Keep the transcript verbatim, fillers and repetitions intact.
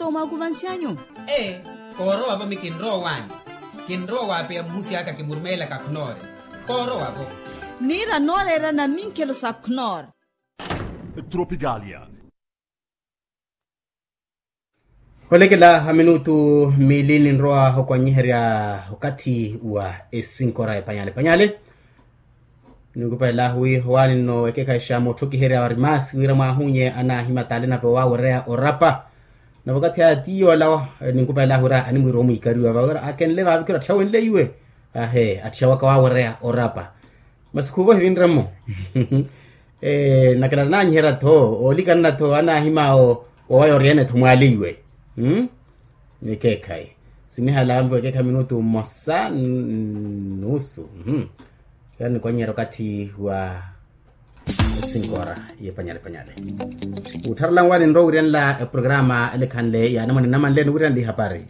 Toomakuvansy'anyu. Ee, koorowavo mi kinrowa owaani. Kinrowa waapeya muhusi aka kimurumeelaka khnoore. Koorowavo. Niira nooreera naminkhelo sa khnoore. Tropicalia. Olekela a minutu miili ninrowa okwanyiherya okathi wa esinkora epanyale panyale. Ninkupelahu wi owaani nno ekekhayi xa mootthokiherya vari maasi wira mwaahunye anaahimataale nave owawereya orapa. Nave okathi aya ti yoola ninkupelahu wira animwiira omwiikariwa vawira akenle vaavikira atthiya wenleiwe. Ahe atthiya waka wawereya orapa. Masi khuuvo evinre-mo. Nakilala naanyiherya-tho oolikana-tho anaahimaawo. Owaya oriyene-tho mwaleiwe. Ekeekhayi sinihala anvo ekeekhayi minutu mmosa nusu. Yaani kwanyiherya okathi wa esinkora y'epanyale panyale. Uttharela nwaani nrowa wiryanela eprograma elekhanle ya anamwane nnamanle niwiryanela ihapari.